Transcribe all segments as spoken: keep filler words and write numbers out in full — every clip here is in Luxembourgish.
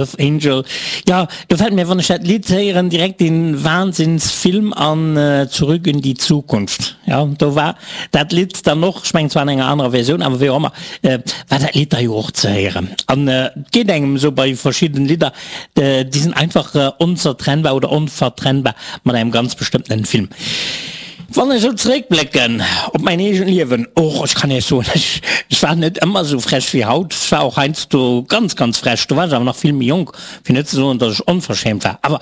Earth Angel. Jo, do fält mir, wann ech dat Lidd héieren, direkt dee Wahnsinnsfilm an, Zurück in die Zukunft. Jo, do war dat Lidd dann och, ech mengen zwar an enger anerer Versioun, awer wéi och ëmmer, war dat Lidd da jo och ze héieren. An et geet engem esou bei verschidden Lidder, déi sinn einfach onzertrennbar oder onvertrennbar mat engem ganz bestëmmtenen Film. Wann ech esou zeréckblécken op mäin eegent Liewen, och ech kann Iech soen, ech ech war net ëmmer esou frech wéi haut. Ech war och heiansdo ganz, ganz frech, do war ech awer nach vill méi jonk, fir net ze soen, datt ech onverschämt war. Awer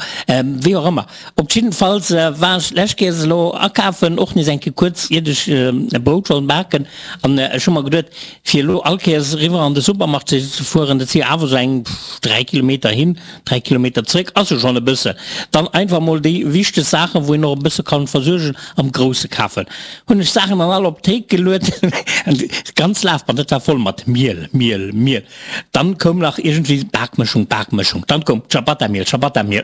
wéi och ëmmer, op jiddefalls war ech d'lescht Kéiers elo akafen, och nees eng Kéier kuerz iert ech e Brout wollt baken, an ech hu mer geduet, fir elo all Kéiers eriwwer an de Supermarché ze fueren, dat si jo awer esou eng dräi Kilometer hin, dräi Kilometer zréck, ass jo schonn e bëssen. Dann einfach mol déi wichteg Saachen, wou een och e bësse kann versuergen, am Grousse kafen. Hunn ech Saachen dann all op d'Théik geluet, an d'ganz Lafband, dat war voll mat Miel, Miel, Miel. Dann koum nach iergendwéi Bakmëschung, Bakmëschung, dann koum Ciabatta-Miel, Ciabatta-Miel,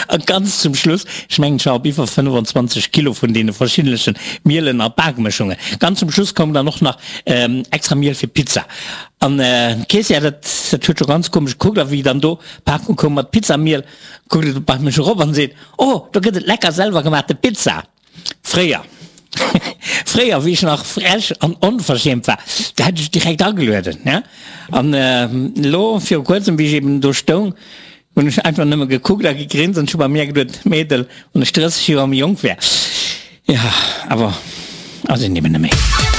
a ganz zum Schluss, ech mengen ech war op iwwer fënnefenzwanzeg Kilo vun deene verschiddentlechen Mielen a Bakmëschungen, ganz zum Schluss koum dann och nach extra Miel fir Pizza. An d'Keessière, dat dat huet scho ganz komesch gekuckt, a wéi dann do d'Pakung koum mat Pizzamiel, kuckt et bei mech erop an seet, Oh, do gëtt et lecker selwer gemaachte Pizza. Fréier, fréier, wéi ech nach frech an onverschämt war, do hätt ech direkt agelueden, ja. An elo viru kuerzem, wéi ech eben do stoung, hunn ech einfach nëmme gekuckt a gegrinst an ech hu bei mir geduet, Mädel, wann ech drësseg Joer méi jonk wär, jo, awer ass een eben net méi.